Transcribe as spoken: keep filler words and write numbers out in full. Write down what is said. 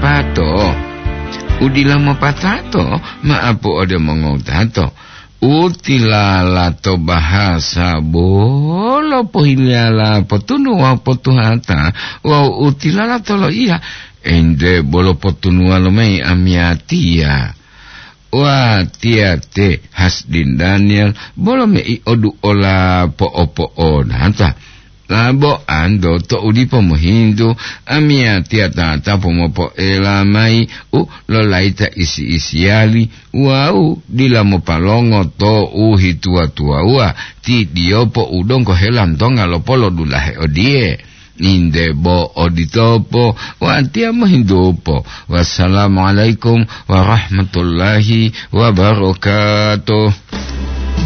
Pato, u dila mopatato, maapu ode mongowutato. U tilala to bahasa bolo pohiliyala potunu wawu potuhata, wawu u tilala to loiya, ente bolo potunuwa lomayi amiyatiya. Watiya te Hasdin Daniel, bolo mei oduola po'opo'onata. Labo ando to u dipo mohintu, amiyatiya tata pomopoela mayi u lolayita isi-isiyali wawu dila mopalongo to u hituwa-tuwawuwa, ti diyopo u donggo helantonga lopolodulahe odiye. Inde bo oditopo, watiya mohintupo. Wassalamualaikum warahmatullahi wabarakatuh.